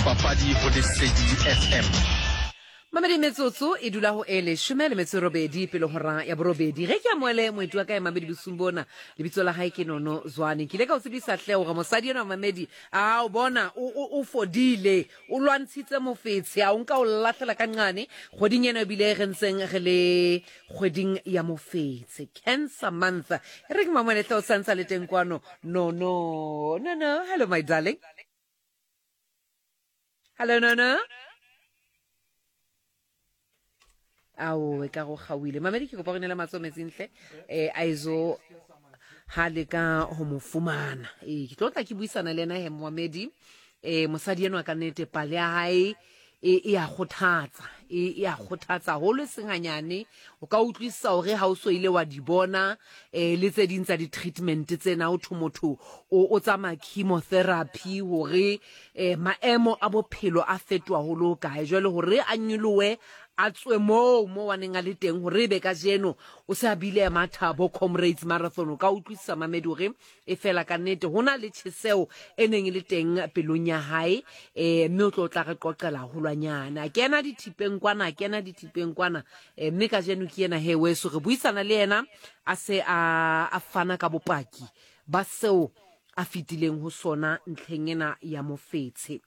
dipapadi go Lesedi FM. Mamedi metsotso e dula go e leshome le metso e robedi pele hora ya borobedi. Ge ke amoele moeti wa ka e Mamedi bosung bona, lebitso la hae ke Nono Zwane. Ke ile ka o tsebisa hle hore mosadi enwa Mamedi, a o bona o, o, o fodile, o lwantshitse mofetshe, a o nka o lahlela ka nqane kgweding ena ebile re ntseng re le kgweding ya mofetshe, Cancer Month. E re ke mamele hle o santsa le teng kwano. Nono, Nono, hello my darling. Hello Nono. Ao, e ka go kgaoile. Mamedi ke kopa go nela matsoho metsing hle. Eh a izo ha leka ho mo fumana. Eh ke tlo tla ke buisana le yena he Moamedi. Eh mosadi enwa ka nnete pale ya hae e e a kgothatsa e e a kgothatsa haholo e seng hanyane o ka utlwisisa hore ha o so ile wa di bona eh le tse ding tsa di-treatment tsena o thwe motho o o tsamaya chemotherapy hore eh maemo a bophelo a fetoha ho le hokae jwale hore a nyolohe a tswe moo mo wa neng a le teng hore ebe kajeno o se a bile a matha bo Comrades Marathon o ka utlwisisa mamedi hore E fela ka nnete ho na le tjheseho e neng e le teng pelong ya hae, e, mme o tlo tla re qoqela haholwanyane. A kena dithipeng kwana, a kena dithipeng kwana, e, mme kajeno ke yena he weso re buisana le yena a se a, a fana ka bopaki ba seo a fetileng ho sona ntlheng ena ya mofetshe.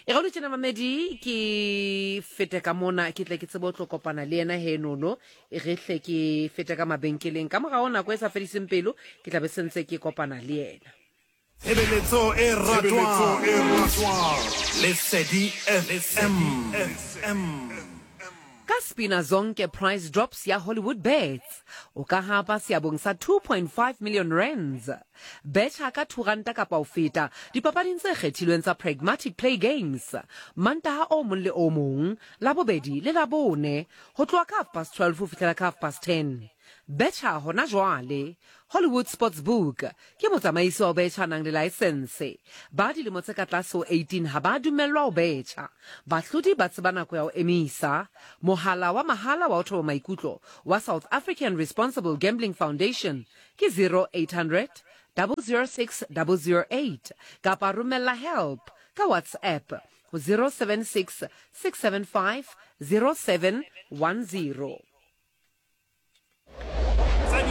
E ga o tjena mamedi ke fete ka mona ke tle ke tsebe o tlo kopana le yena he nono e re hle ke fete ka mabenkeleng ka morao nako e sa fediseng pelo ke tla be sentse ke kopana le yena. Tshebeletso e ratwang Lesedi FM. Ka Spina Zonke Price Drops ya Hollywood Bets, o ka hapa seabong sa 2.5 million rands. Betjha ka R2 kapa ho feta dipapading tse kgethilweng tsa Pragmatic Play Games Mantaha o mong le o mong, Labobedi le Labone, ho tloha ka 12:30 ho fihlela ka 10:30. Betjha hona jwale! Hollywood Sportsbook ke motsamaisi wa ho betjha a nang le laesense. Ba dilemo tse ka tlase ho 18 ha ba dumellwa ho betjha. Bahlodi ba tseba nako ya ho emisa. Mohala wa mahala wa ho thoba maikutlo wa South African Responsible Gambling Foundation ke 0800 006 008 kapa romella help ka WhatsApp ho 076 675 0710.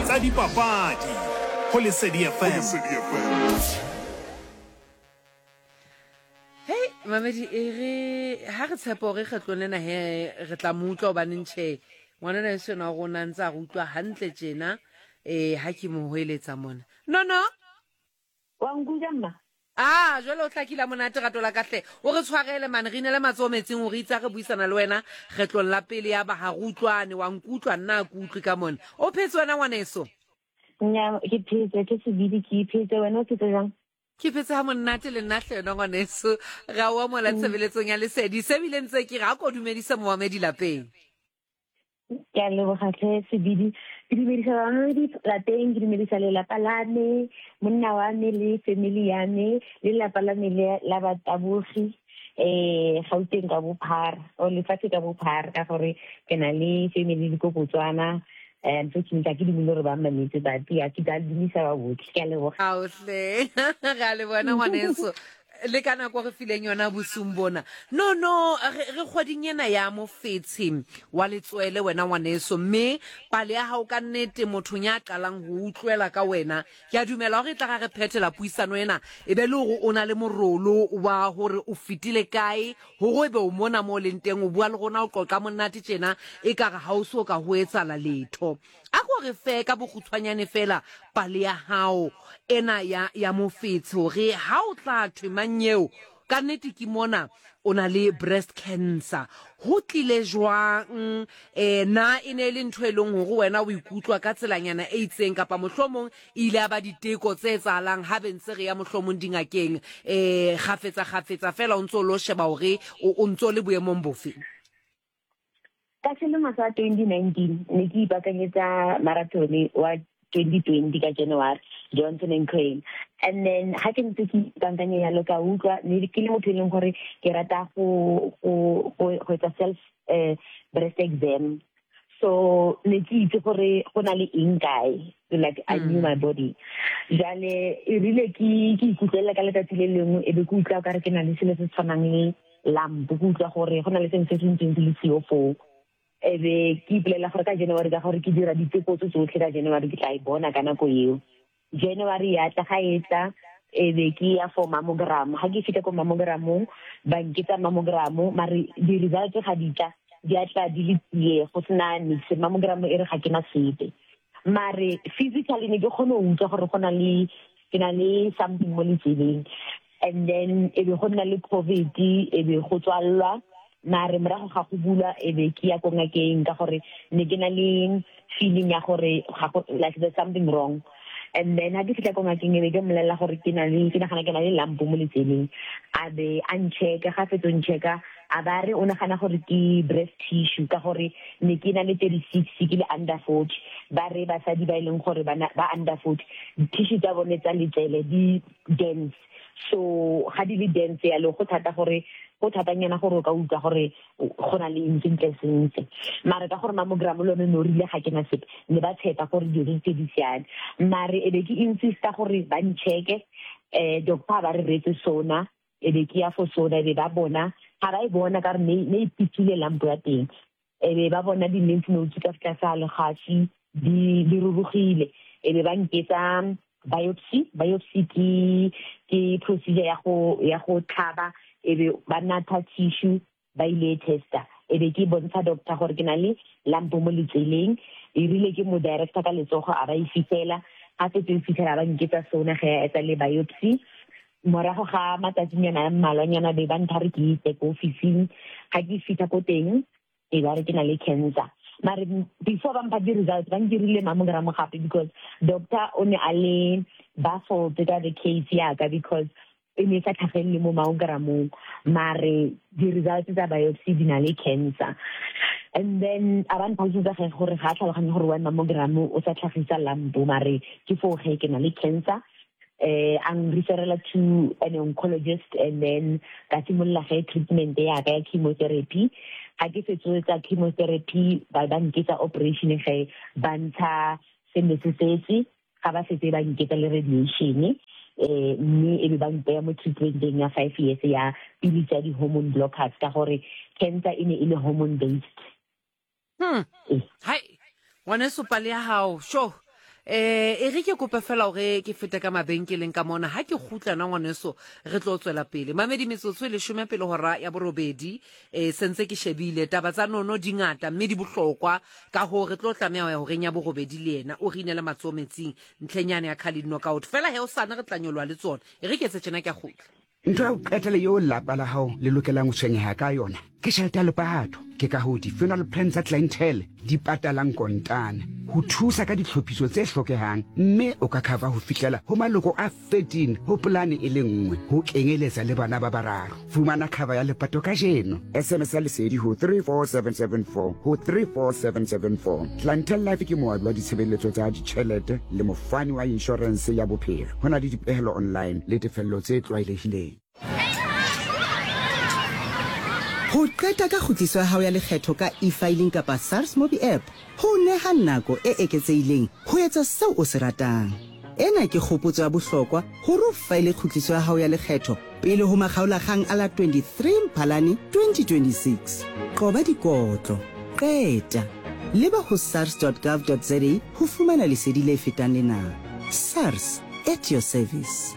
Tsa dipapadi go Lesedi FM. Hei mamedi e re ha re tshepo gore kgetlong lena he re tla mo utlwa gobaneng tšhe ngwanana e sena wa rona ntse a re utlwa hantle tjena um ha ke mo hoeletsa mona no no Wa nkutlwa mma? A jwale o hlakile ha monate rato la ka hle. O re tshwarele mane re inele matsoho metsing hore itse ha re buisana le wena kgetlong la pele ya ba ha re utlwane wa nkutlwa nna ha ke utlwe ka mona. O phetse wena ngwaneso? Nya ke phetse ke sebidi ke iphetse wena o phetse jwang? Ke phetse ha monate le nna hle wena ngwaneso. Ra o amohela tshebeletsong ya Lesedi. Se bile ntse ke re ha ko dumedise momamedi lapeng. Ke a leboga tlhe Sebidi. Ke dumedisa bamamedi lapeng, ke dumedisa lelapa la me, monna wa me le family ya me, le lelapa la me la batabogi Gauteng ka bophara or lefatshe ka bophara ka gore ke na le family le ko Botswana. Unfortunately ga ke dumele gore ba mmametse but ya ke tla dumisa ba botlhe. Ke a leboga. Aohle re a leboga ngwaneso le ka nako re fileng yona bosung bona. No no re re kgweding ena ya mofetshe wa letswele wena ngwaneso mme pale ya gago ka nnete mothong ya qalang go utlwela ka wena ke a dumela gore e tla ga re phethela puisano ena e be le gore o na le morolo wa gore o fetile kae gore e be o mona mo o leng teng o bua le rona o qoqa monate tjena e ka re ha o so ka ho etsala letho. A ko re fe ka bokgutshwanyane feela pale ya hao ena ya, ya mofetshe hore ha o tla thwe mannyeo ka nnete ke mona o na le breast cancer. Ho tlile jwang? E, na e ne e le ntho e leng hore wena o ikutlwa ka tselanyana e itseng kapa mohlomong e ile ya ba diteko tse etsahalang ha be ntse re ya mohlomong dingakeng e, kgafetsa kgafetsa feela o ntso o lo sheba hore o, o ntso le boemong bofe? Ka selemo sa 2019 ne ke ipaakanyetsa marathon wa 2020 ka January, Johnson and Crane. And then ha ke ntse ke ipaakanya yalo ka utlwa ne ke le motho e leng gore ke rata go go go etsa self breast exam. So ne ke itse gore go na le eng kae, like I knew my body. Jale e rile ke ke ikutlwelela ka letsatsi le lengwe e be ke utlwa okare ke na le selo se se tshwanang le lump, ke utlwa gore go na le sengwe se se ntseng se le sio foo. E be ke ipolelela gore ka January ka gore ke dira diteko tse tsotlhe ka January ke tla e bona ka nako eo. January ya tla ga e tla e be ke ya for mammogram. Ga ke fitlha ko mammogramong ba nketsa mammogram mare di-results ga di tla di a tla di le tsie go sena nix. Mammogram e re ga ke na sepe. Mare physically ne ke kgone go utlwa gore go na le ke na le something mo letseleng. And then e be go nna le COVID e be go tswallwa mare morago ga go bulwa e be ke ya ko ngakeng ka gore ne ke na le feeling ya gore ga go like there's something wrong. And then ha ke fitlha ko ngakeng e be ke mmolelela gore ke na le ke nagana ke na le lump mo letseleng. A be a nchecka ga fetso nchecka a ba re o nagana gore ke breast tissue ka gore ne ke na le 36 ke le under 40. Ba re basadi ba e leng gore ba ba under 40 tissue tsa bone tsa letsele di dense. So ga di le dense yalo go thata gore go thatanyana gore o ka utlwa gore go na le eng sentle sentle. Mare ka gore mammogram le yone ne o rile ga ke na sepe ne ba tshepa gore dilo tse di siame. Mare e be ke insista gore ba nchecke doctor ba re reetse sona e be ke ya for sona e be ba bona ga ba e bona ka re ne e pitile lump ya teng. E be ba bona di-lymph nodes ka fa tlase ga legafi di di rurugile e be ba nketsa biopsy. Biopsy ke ke procedure ya go ya go tlhaba e be ba natha tissue ba ile e testa. E be ke bontsha doctor gore ke na le lump mo letseleng. E rile ke mo director ka letsogo a ba e fitlhela ga setse e fitlhela ba nketsa sona ge a etsa le biopsy. Morago ga matsatsinyana a mmalwanyana be ba ntha re ke itse ko ofising. Ga ke fitlha ko teng e ba re ke na le cancer. Mare before ba mpha di-results ba nkirile mammogram gape because doctor o ne a le baffled ka the case yaka because e ne e sa tlhagelele mo mammogramong mare di-results tsa biopsy di na le cancer. And then a ba ntlhalosetsa ge gore ga a tlhaloganye gore why mammogram o sa tlhagisa lump mare ke foo ge ke na le cancer. A nreferela to an oncologist and then ka simolola ge treatment ya ka ya chemotherapy. Ga ke fetso tsa chemotherapy ba ba nketsa operation ge ba ntsha se ne se setse ga ba setse ba nketsa le radiation mme e be ba mpeya mo treatmenteng ya 5 years ya pili tsa di-hormone blockers ka gore cancer e ne e le hormone based. Hai ngwaneso pale ya hao sho e re ke kope fela hore ke fete ka mabenkeleng ka mona ha ke kgutla na ngwaneso re tlo tswela pele. Mamedi metsotso e leshome pele hora ya borobedi sentse ke shebile taba tsa nono di ngata mme di bohlokwa ka hoo re tlo tlameha ho ya horeng ya borobedi le yena o re inele matsoho metsing ntlheng yane ya Carling Knockout fela he o sane re tla nyoloha le tsona e re ke etse tjena ke a kgutla. Ntho ya ho qetela eo lelapa la hao le lokelang ho tshwenyeha ka yona ke tjhelete ya lepato. Ke ka hoo di-funeral plan tsa Clientele di patalang kontane ho thusa ka ditlhophiso tse hlokehang mme o ka cover ho fihlela ho maloko a 13 ho polane e le nngwe ho kenyeletsa le bana ba bararo. Fumana cover ya lepato kajeno. SMS ya Lesedi ho 34774 ho 34774. Clientele Life ke moabi wa ditshebeletso tsa ditjhelete le mofani wa inshorense ya bophelo. Ho na le dipehelo online le tefello tse tlwaelehileng. Ho qeta ka kgutliso ya hao ya lekgetho ka eFiling kapa SARS Mobi App ho o neha nako e eketsehileng ho etsa seo o se ratang. Ena ke kgopotso ya bohlokwa hore o faele kgutliso ya hao ya lekgetho pele ho makgaolakgang a la 23 Mphalane 2026. Qoba dikotlo. Qeta. Leba ho sars.gov.za ho fumana lesedi le fetang lena. SARS, at your service.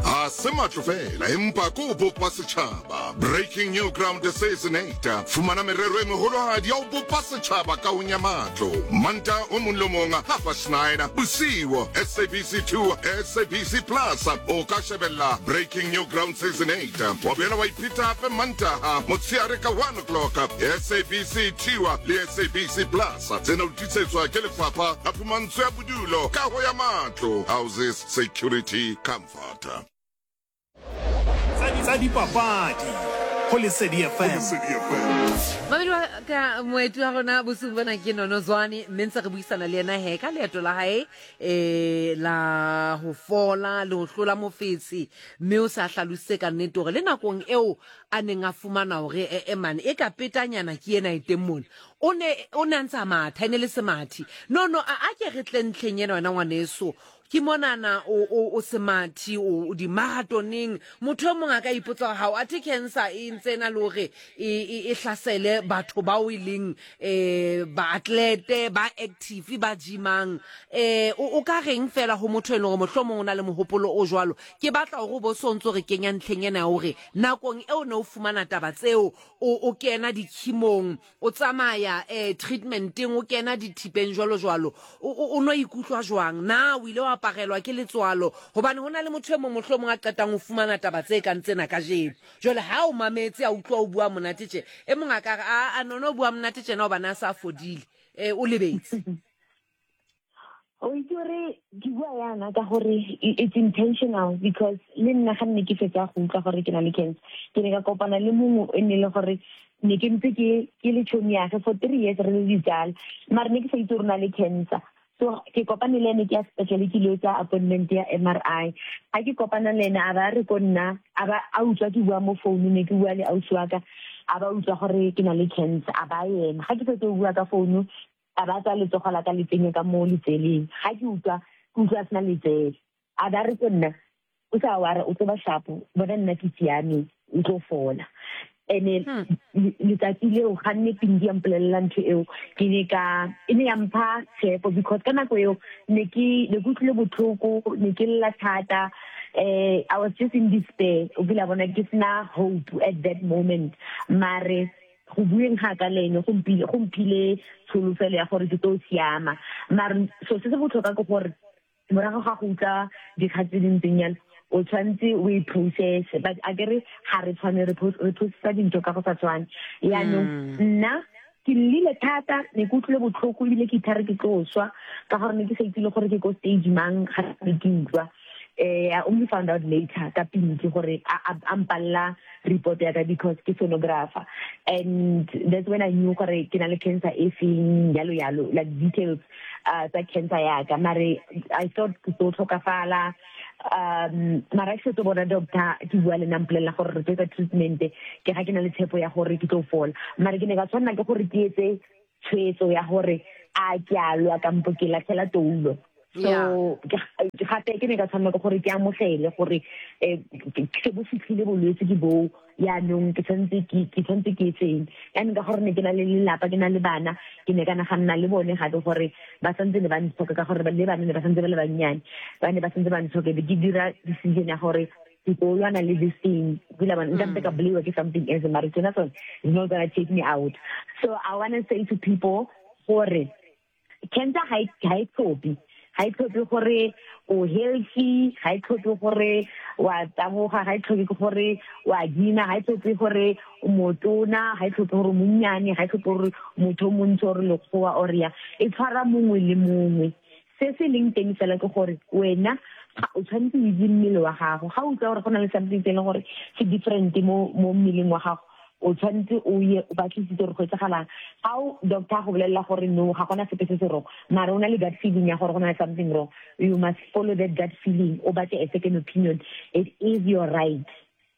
Ga se matlo fela empa ke go bopa setšhaba. Breaking New Ground Season 8. Fumana merero e meholohadi ya go bopa setšhaba kahong ya matlo. Mantaha o mong le o mong half past nine bosiu, SABC 2, SABC Plus. O ka shebella Breaking New Ground Season 8 wa boela wa ipheta hape Mantaha motsheare ka 1 o'clock, SABC 2 le SABC Plus. Tsena o tiisetswa ke Lefapha la Phumantsho ya Bodulo, Kaho ya Matlo, Houses Security Comfort. Tsa dipapadi go Lesedi FM. Mamedi wa ka moeti wa rona bosiung bona ke Nono Zwane mme ntse re buisana le yena he ka leeto la hae la ho fola le ho hlola mofetshe mme o sa hlalositse ka nnete hore le nakong eo a neng a fumana hore e mane e ka petanyana ke ena e teng mona o ne o ne a ntse a matha e ne le semathi. No no a ke re tle ntlheng ena wena ngwaneso. Ke monana o, o, o semathi, o, o dimaratoneng. Motho e mong a ka ipotsa gore gao athe cancer e ntse e na le gore e, e, e hlasele batho bao e leng um baatlete, ba active, ba gymang. Um o, o ka reng fela go motho e leng gore mohlomong o na le mogopolo o jwalo? Ke batla gore o bo so ntse o re kenya ntlheng ena ya gore nakong eo ne o fumana taba tseo, o, o kena dikhimong, O tsamaya eh, treatmenteng, o kena dithipeng jwalo jwalo. O, o, o no ikutlwa jwang? Na o ile wa aparelwa ke letswalo? Hobane ho na le motho e mong mohlomong a qetang ho fumana taba tse kang tsena kajeno. Jwale ha o mametse a utlwa o bua monate tje, e mong a ka re, a, a nono o bua monate tjena hobane a sa fodile. Eh, o lebetse. O itse gore ke bua yana ka gore it's intentional because le nna ga nne ke fetsa go utlwa gore ke na le cancer, ke ne ka kopana le mongwe e ne le gore ne ke ntse ke ke le tšhomi yage for 3 years, re le ditsala, mare ne ke sa itse gore o na le cancer. So ke kopane le ene ke ya sepetlele, ke ile tsa appointment ya MRI. Ga ke kopana le ene, a ba re ko nna, a ba a utlwa ke bua mo founu, ne ke bua le ausi wa ka, a ba utlwa gore ke na le cancer, a ba ema ga ke fetse go bua ka founu, a ba tsaya letsogo la ka le tsenye ka mo letseleng. Ga ke utlwa, ke utlwa sena letsele. A ba re ko nna, o sa wara, o tlo ba shapo, bona nna ke siame, o tlo fola. Ene letsatsi leo ga nne Pinky ya mpolelela ntho eo, ke ne ka e ne ya mpha tshepo because ka nako eo ne ke ne ke utlwile botlhoko, ne ke lla thata, I was just in despair, o kile bona ke sena hope at that moment. Mare go bueng ga ka le ene go mphile tsholofelo ya gore ke tlo siama. Mare so se se botlhokwa ke gore morago ga go utlwa dikgang tse di ntseng jalo, o tshwanetse o e process, but a kere ga re tshwane, re processa dintho ka go sa tshwane. Yaanong nna ke llile thata, ne ke utlwile botlhoko ebile ke ithare ke tlo swa ka gore ne ke sa itse le gore ke ko stage mang ga ne ke utlwa. I only found out later ka Pinky gore a mpalla report ya ka because ke sonographer, and that's when I knew gore ke na le cancer e feng, yalo yalo, like details tsa cancer ya ka. Mare I thought ke tlo tlhokafala, mara ke setse bona doctor ke bua le nna, mpolelela gore re tlo etsa treatment, ke ga ke na le tshepo ya gore ke tlo fola. Mare ke ne ka tshwanela ke gore ke etse tshwetso ya gore a ke a lwa kampo ke latlhela toulo. So gape ke ne ka tshwanela ke gore ke amogele gore se bo fitlhile, bolwetse ke boo, yaanong ke tshwanetse ke etseng yaanong, ka gore ne ke na le lelapa, ke na le bana. Ke ne ka naganna le bone gape gore ba santse ne ba ntlhoka, ka gore le bana ne ba santse ba le bannyane, ba ne ba santse ba ntlhoka. Be ke dira decision ya gore ke tlo lwana le this thing, kila bona nka mpe ka bolaiwa ke something else, mare tsena tsone is not gonna take me out. So I wanna say to people gore cancer ga e tlhophe, ga e tlhophe gore o healthy, ga e tlhophe gore wa taboga, ga e tlhophe gore wa gina, ga e tlhophe gore o motona, ga e tlhophe gore o monnyane, ga e tlhophe gore motho o montsho or lekgowa or ya, e tshwara mongwe le mongwe. Se se leng teng fela ke gore wena o tshwanetse o itse mmele wa gago. Ga o utlwa gore go na le something se e leng gore se different mo mmeleng wa gago, o tshwanetse o ye o batlisitse gore go etsagalang. Ga o doctor a go bolelela gore no, ga gona sepe se se wrong, mara o na le gut feeling ya gore go na le something wrong, you must follow that gut feeling, o batle a second opinion. It is your right.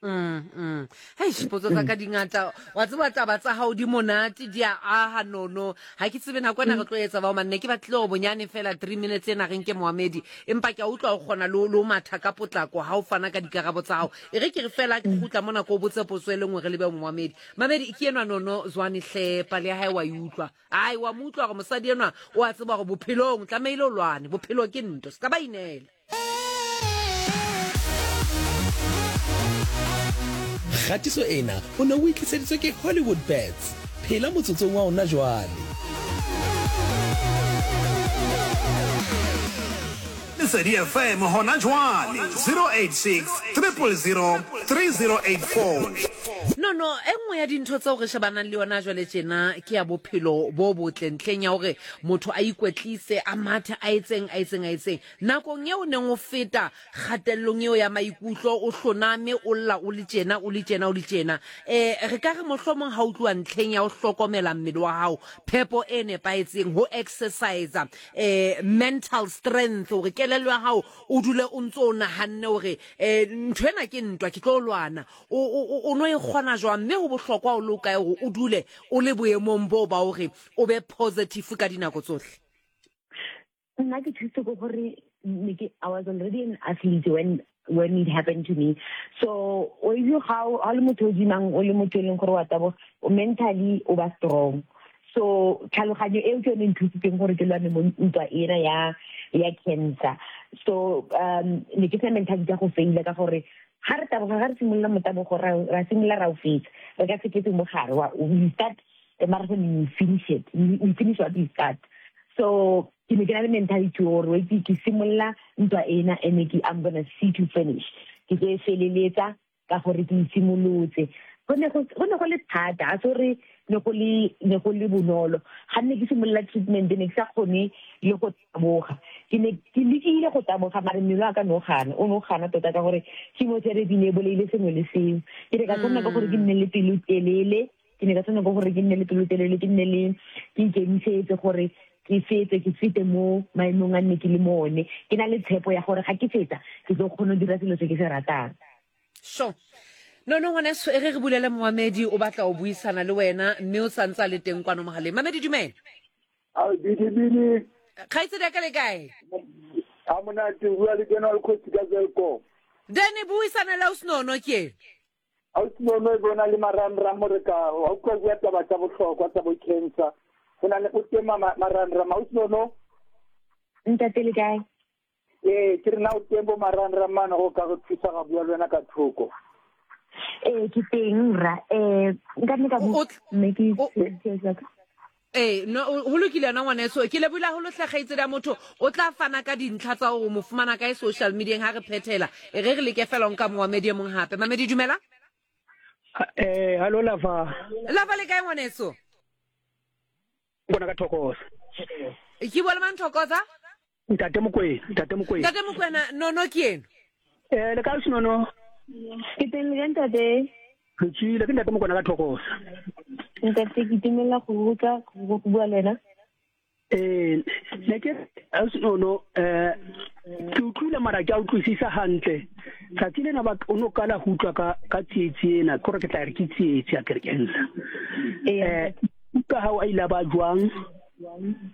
Hei, potso tsa ka di ngata, wa tseba taba tsa gago di monate, di a aga nono. Ga ke tsebe nako ena re tlo etsa bao manne. Ke batlile gore bonyane fela 3 minutes ena re nke moamedi, empa ke a utlwa o kgona le o matha ka potlako ga o fana ka dikarabo tsa gago. E re ke re fela ke gutla mo nako o botse potso e le nngwe re lebe moamedi. Mamedi ke enwa Nono Zwane hle, pale ya hae wa e utlwa. Ai, wa mo utlwa gore mosadi enwa o a tseba gore bophelong tlameile o lwane, bophelo ke nto, se ka ba inela. Kgatiso ena o ne o e tliseditswe ke Hollywood Bets. Phela motsotsong wa ona jwale. Lesedi FM hona jwale, 086 000 3084. No no, e nngwe ya dintho tseo re shebanang le yona jwale tjena ke ya bophelo bo botle, ntlheng ya hore motho a ikwetlise, a mathe, a etseng, a etseng, a etseng. Nakong eo o neng o feta kgatellong eo ya maikutlo, o hloname, o lla, o le tjena, o le tjena, o le tjena, um re ka re mohlomong ha o tluwa ntlheng ya ho hlokomela mmele wa hao, phepo e nepahetseng, ho exercise, um mental strength, hore kelello ya hao o dule o ntso o nahanne hore um ntho ena ke ntwa, ke tlo lwana, o no e kgona jwang? Mme ho bohlokwa o le o kae hore o dule o le boemong boo ba hore o be positive ka dinako tsohle? Nna ke thusitse ke gore ne ke I was already an athlete when when it happened to me. So o itse ga o le motho o jimang o le motho e leng gore wa taboga o mentally o ba strong. So tlhaloganyo eo ke yone e nthusitseng gore ke lwane mo ntwa ena ya ya cancer. So um ne ke sena mentality ya go faila ka gore ga re taboga ga re simolola motabogo ra ra simolola ra o fetsa re ka se fetse mo gare wa we start the marathon you finish it we finish what we start so ke ne ke na le mentality gore wa itse ke simolola ntwa ena and ke I'm gonna see to finish ke tlo e feleletsa ka gore ke itshimolotse go ne go go ne go le thata a se gore ne go le ne go le bonolo ga nne ke simolola treatment ne ke sa kgone le go taboga ke ne ke lekile go taboga mare mmele wa ka ne o gana o ne o gana tota ka gore chemotherapy ne e bolaile sengwe le sengwe ke ne ka tshwanela ke gore ke nne le pelo telele ke ne ka tshwanela ke gore ke nne le pelo telele ke nne le ke ikemisetse gore ke fetse ke fete mo maemong a nne ke le mo one ke na le tshepo ya gore ga ke fetsa ke tlo kgona go dira selo se ke se ratang Sure. No no ngwaneso e re re bulele moamedi o batla o buisana le wena mme o santse a le teng kwano mogaleng. Mamedi dumela. Ao bidi bidi. Kgaitsedi ya ka le kae? Ha monate o bua le General Khosi ka Welkom. Dene buisana le ausi Nono ke. Ausi Nono e bona le marangrang mo re ka wa utlwa bua taba tsa bohlokwa tsa bo cancer. Go na le o teng marangrang ausi Nono. Ntate le kae? Ee, ke re na o teng bo marangrang mane go ka go thusa ga bua le wena ka thoko. Ee, ke teng rra. Eh, nka nne ka bua mme ke Ee, no ho lokile yona ngwaneso. Ke lebohile haholo hle kgaitsedi ya motho. O tla fana ka dintlha tsa hore o mo fumana kae social media-eng ha re phethela. E re re leke fela ho nka moamedi e mong hape. Mamedi dumela. Eh, hallo Lava. Lava le kae ngwaneso? Bona ka Thokoza. Ke bua le mang Thokoza? Ntate Mokwena, Ntate Mokwena. Ntate Mokwena, Nono ke eno. Eh, le kae Senono? Ke teng le kae ntate? Re tswile, ke Ntate Mokwena ka Thokoza. Ntate ke itumelela go utlwa go bua le wena. Eh, ne ke Senono eh ke utlwile mara ke a utlwisisa hantle. Tsatsi lena ba o no kala go utlwa ka ka tsietsi ena, ke gore ke tla re ke tsietsi ya kerkensa. Eh, ka hao a ile ba jwang?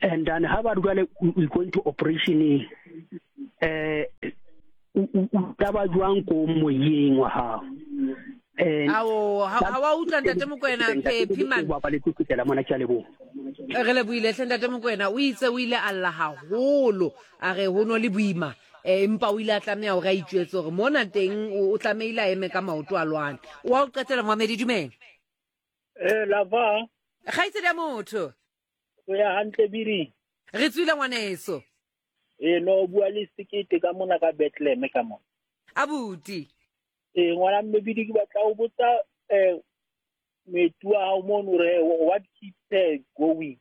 And then ha ba re jwale we going to operation eh o tla ba jwang ko moyeng wa hao? Eh, Ao, ha wa utlwa Ntate Mokoena Phephi man. Ba le kgutlela mona ke a leboha. Re lebohile hle Ntate Mokoena, o itse o ile a lla haholo, a re ho no le boima eh, empa o ile a tlameha hore a itjwetse hore mona teng o tlamehile a eme ka maoto a lwane. O a o qetela Moamedi dumela. Eh, lava. Kgaitsedi ya motho. O ya hantle biri. Re tswile ngwaneso. Eh, no bua le sekete ka mona ka Bethlehem ka mona. Abuti. Eh, ngwana mme bidi ke batla o botsa eh moeti wa hao mono re what keeps her going.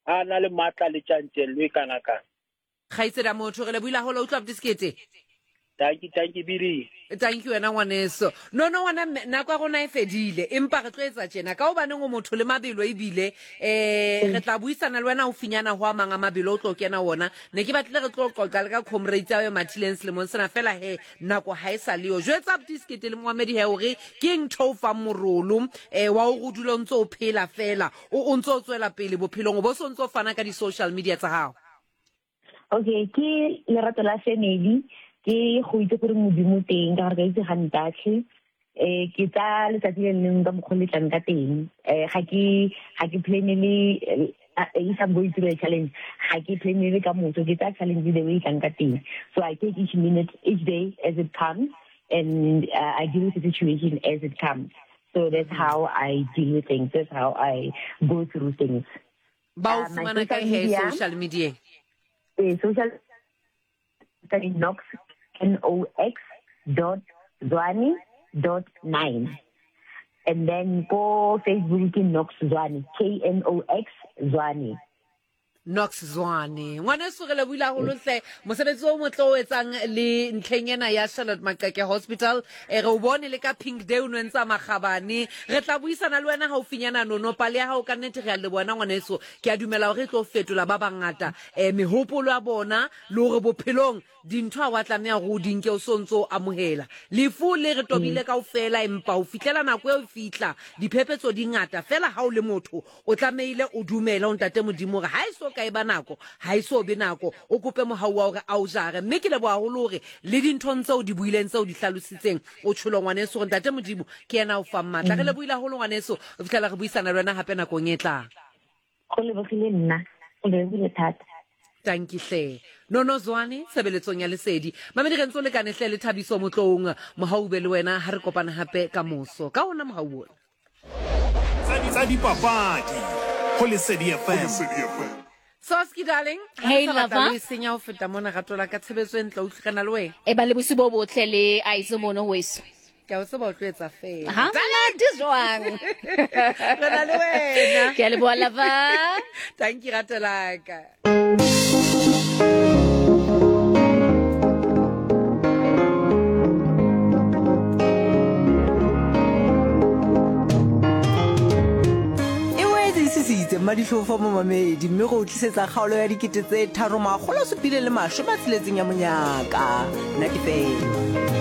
A na le matla le tjantjello e kana kana. Kgaitsedi ya motho re lebohile haholo utlwa abuti Sekete. Thank you, thank you, Biri. Thank you wena ngwaneso. No no ngwana mme nako ya rona e fedile empa re tlo etsa tjena ka hobaneng o motho le mabelo ebile eh re tla buisana le wena haufinyana ho a mang a mabelo o tlo kena wona. Ne ke batlile re tlo qoqa le ka comrades ya yo mathileng selemong sena fela he nako ha e sa le yo. Jwetsa abuti Sekete le moamedi he hore ke eng ntho o fang morolo eh wa hore o dule o ntso o phela fela o o ntso o tswela pele bophelong o bo so ntso fana ka di-social media tsa hao. Okay, ke lerato la family, ke go itse gore Modimo teng ka gore ka itse ga ntatlhe. Eh ke tsa letsatsi le lengwe ka mokgwa le tlang ka teng. Eh ga ke ga ke planele if I'm going through a challenge, ga ke planele ka motho, ke tsa challenge the way e tlang ka teng. So I take each minute, each day as it comes and I deal with the situation as it comes. So that's how I deal with things. That's how I go through things. Ba o fumana kae he social media? Eh, social Knox N O X dot Zwane dot 9. And then go Facebook ke Knox Zwane, K N O X Zwane. Knox Zwane. Ngwaneso re lebohile haholo hle mosebetsi o motle o etsang le ntlheng ena ya Charlotte Maxeke Hospital. E re o bone le ka Pink Day o no entsa makgabane. Re tla buisana le wena haufinyana Nono. Pale ya hao ka nnete re a leboha ngwaneso. Ke a dumela hore e tlo fetola ba bangata eh mehopolo ya bona le hore bophelong Dintho ha wa tlameha gore o di nke o so ntse o amohela. Lefu le re tobile kaofela, empa ho fihlela nako eo e fihla, diphephetso di ngata. Feela ha o le motho, o tlamehile o dumele ho Ntate Modimo hore ha e so ka e ba nako, ha e so be nako. O kope mohau wa hore a o jare. Mme ke leboha haholo hore le dinthong tseo o di buileng, tseo o di hlalositseng, o tjholo ngwaneso hore Ntate Modimo ke yena a o fang matla. Re lebohile haholo ngwaneso, ho fihlela re buisana le wena hape nakong e tlang. Go lebogile nna, go lebogile thata. Tanki hle. Nono Zwane, tshebeletsong ya Lesedi. Mamedi re ntse o lekane hle le Thabiso Motloung. Mohau be le wena ha re kopana hape ka moso. Ka ona mohau ona. Tsa dipapadi ho Lesedi FM. Soski darling, ha Hey, re sa batla lover. le e senya ho feta mona rato la ka tshebetso e ntle utlwe re na le wena. E ba le bosiu bo botle le Aizo mono weso. Ke a o tseba o tlo etsa fela. Ha monate jwang? Re na le wena. Ke a leboha lover. Thank you rato la ka. E boetse e sisitse mmadihlofo momamedi mme go o tlisetsa kgaolo ya 3760 ya monyaka. Nna ke fela.